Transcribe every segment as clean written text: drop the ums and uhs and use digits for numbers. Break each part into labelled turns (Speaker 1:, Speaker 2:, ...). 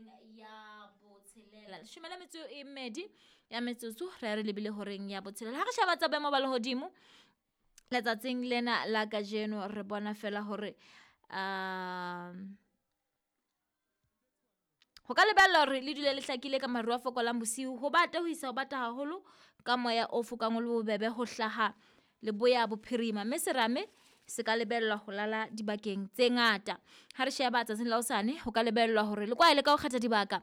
Speaker 1: Horeng ya botshelela, leshome le metso e mmedi ya metsotso re re lebile horeng ya botshelela. Ha re sheba tsa boemo ba lehodimo letsatsing lena la kajeno, re bona fela hore ho ka lebellwa hore le dule le hlakile ka maru a fokolang bosiu, ho bata ho isa ho bata haholo ka moya o fokang o le bobebe ho hlaha leboya bophirima, mme serame se ka lebellwa ho lala dibakeng tse ngata. Ha re sheba tsatsing la hosane, ho ka lebellwa hore le kwaele ka ho kgetha dibaka,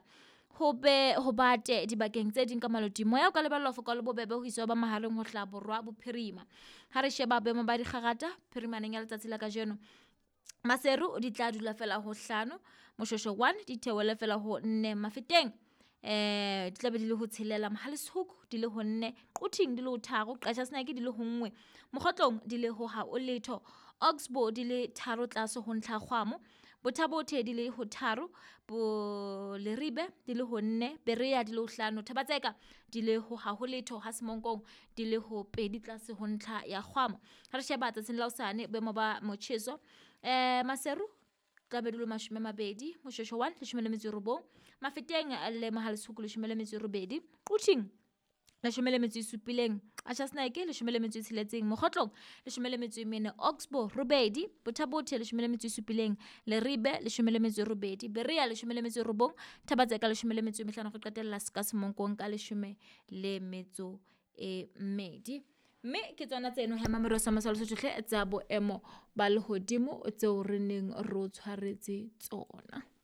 Speaker 1: ho be ho bate dibakeng tse ding ka maloti. Moya o ka lebellwa ho foka o le bobebe ho isa ho ba mahareng ho hlaha borwa bophirima. Ha re sheba boemo ba dikgangata phirimaneng ya letsatsi la kajeno, Maseru di tla dula fela ho 5, Moshoeshoe 1 di theohele fela ho 4, Mafeteng di tla be di le ho 6, Mohale's Hoek di le ho 4, Quthing di le ho 3, Qacha's Nek di le ho 1, Mokhotlong di le ho ha o letho, Oxbow di le 3 tlase ho ntlha kgwamo, Botha-Bothe di le ho 3, bo Leribe di le ho 4, Berea di le ho 5, Thaba-Tseka di le ho ha ho letho, ha Semonkong di le ho 2 tlase ho ntlha ya kgwamo. Ha re sheba tsatsing la hosane boemo ba motjheso, Maseru tla be di le 20, Moshoeshoe 1 19, Mafeteng le Mohale's Hoek 18, Quthing 17, Qacha's Nek 16, Mokhotlong 14, Oxbow 8, Botha-Bothe 17, Leribe 18, Berea 19, Thaba-Tseka 15, re qetella ka Semonkong ka 12. Mme ke tsona tseno he Mamelodi sa Masalo Sotho tsa boemo ba lehodimo tseo re neng re o tshwaretse tsona.